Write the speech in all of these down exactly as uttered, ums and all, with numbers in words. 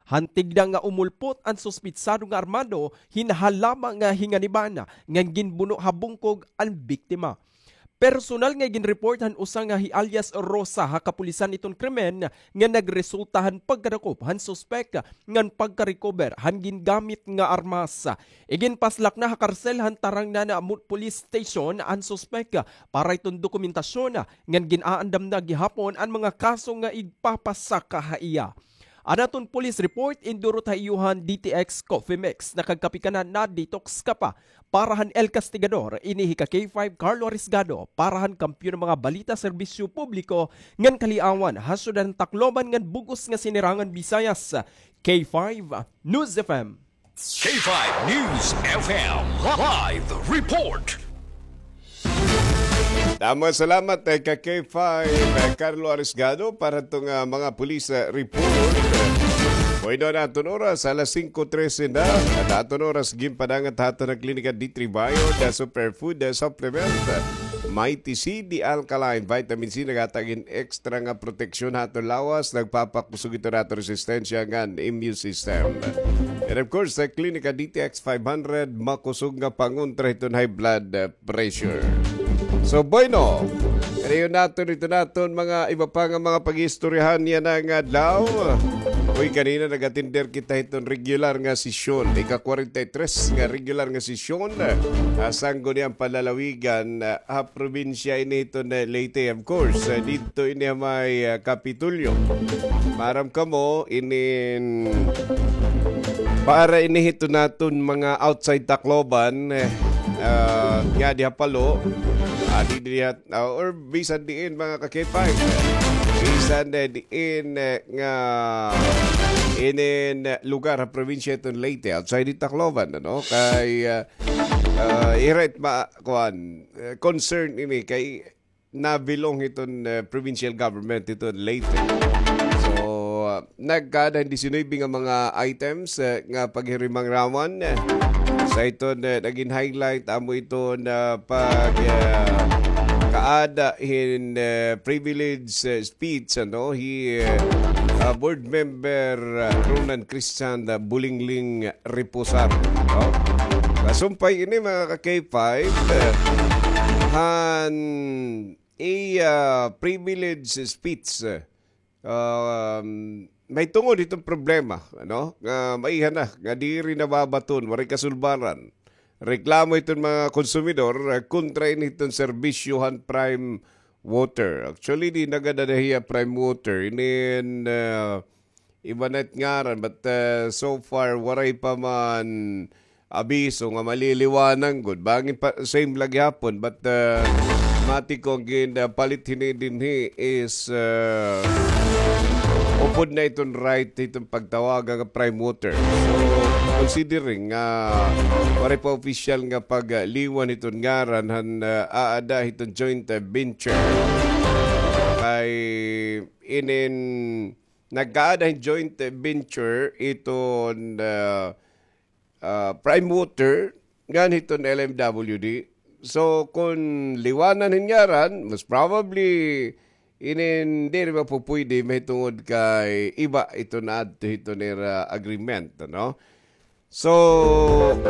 Han tigda nga umulpot an suspitsado nga armado hin halama nga hinganiban ngan ginbuno ha bungkog an biktima. Personal nga ginreport han usa nga hi alias Rosa ha kapulisan iton krimen nga nagresulta han pagkadakop han suspek ngan pagka-recover han gingamit nga armas. Iginpaslak na ha karsel han Tarangnan Police Station an suspek para iton dokumentasyon ngan gin-aandam na gihapon an mga kaso nga igpapasaka ha iya. An aton police report, indurot ha iyo han D T X Coffee Mix. Nakagkape ka na, na-detox ka pa. Para han El Castigador, ini hi ka K five Carlo Arisgado, para han kampiyon nga mga balita, serbisyo publiko, ngan kaliawan, ha syudad han Tacloban ngan bug-os nga Sinirangan Visayas. K five News F M. K five News F M Live Report. Damo salamat, eh, ka K five, eh, Carlo Arisgado, para itong, ah, mga police, eh, report. Bueno, an aton oras, alas singko trese na. An aton oras, ginpadangat ha aton nga klinika D three Bio, the superfood, the supplement, Mighty C, the alkaline vitamin C, naghatag hin extra nga proteksyon ha aton lawas, nagpapakusog ito ha aton resistensya ngan immune system. And of course, sa Klinika D T X five hundred, makusog nga pangontra hiton high blood, uh, pressure. So, bueno, kanayon naton ito naton mga iba pa nga mga pag-iistoryahan yana nga adlaw. Uy, kanina nag-atender kita hiton regular nga sesyon, ika-kwarenta y tres nga regular nga sesyon, ah, Sangguniang Panlalawigan, ah, ha probinsya ini hiton, eh, Leyte, of course, eh, didto ini ha may, ah, Kapitolyo. Maaram kamo, inin para ini hiton naton mga outside Tacloban, eh, ah, nga diha Palo, ah, di diha, ah, or bisan diin, mga ka-K five. Bisan, eh, diin, eh, nga inin, eh, lugar ha probinsya hiton Leyte, outside di Tacloban, ano? Kay, ah, ah, ira it ma-, kuan, eh, concern ini kay na-belong hiton, eh, provincial government hiton Leyte. So, ah, nagkaada hin disinuybe nga mga items, eh, nga paghirimangaraman, eh, sa hiton, eh, nagin highlight amo iton, ah, pag, ah, kaada hin, eh, privilege, eh, speech, ano, hi, eh, ah, Board Member, ah, Ronan Christian, ah, Bulingling Reposar, no? Kasumpay ini, mga ka-K five, eh, han iya privilege speech, eh, um, mahitungod hiton problema, ano, nga maiha na, nga diri nababaton, waray kasulbaran. Reklamo hiton mga konsumidor, eh, kontra ini hiton serbisyo han Prime Water. Actually, di na gad ada hiya Prime Water. Inin, eh, iba na it ngaran, but, uh, so far, waray pa man abiso nga maliliwanan gud. Bangin pa, same la gihapon, but, uh, mati ko an gin, uh, palit hini dinhi is, uh, upod na iton right, iton pagtawag nga Prime Water. So, considering nga waray pa opisyal nga pagliwan hiton ngaran han, uh, aada hiton joint, uh, venture. Kay inin nagkaada hin joint venture iton, ah, ah, Prime Water ngan hiton L M W D. So, kon liwanan hin ngaran, most probably, inin diri mapupuyde mahitungod kay iba iton naadto hiton ira agreement, ano? So,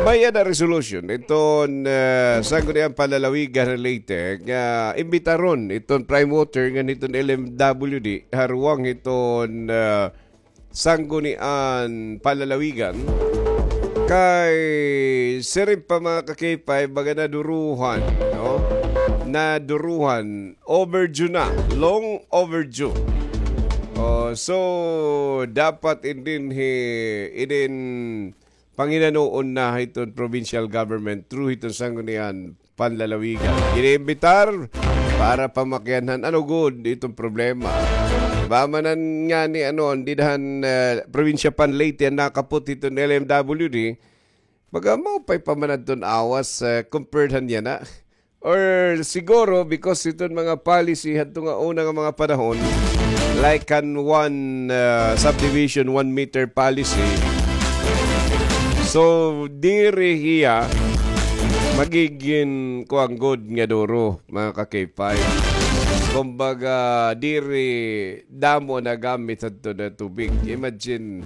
may-ada resolution iton, eh, Sangguniang Panlalawigan han Leyte nga imbitaron iton Prime Water ngan hiton L M W D ha ruwang hiton, eh, Sangguniang Panlalawigan. Kay siring pa, mga ka-K five, baga naduruhan, no? Naduruhan, overdue na, long overdue. Oh, so, dapat in dinhi, inin panginanoon na hiton provincial government through hiton Sangguniang Panlalawigan. Giniimbitar para pamakianhan ano gud iton problema. Ba man an ngani ano, an dida han, eh, probinsya pan Leyte an nakapot hiton L M W D, baga maupay pa man adton awas, eh, compared han yana. Or siguro, because iton mga policy hadto nga una nga mga panahon, like han one, uh, subdivision, one meter policy. So, diri hiya magigin kuan gud nga duro, mga ka-K five. Kumbaga, diri damo nagamit hadto na tubig. Imagine,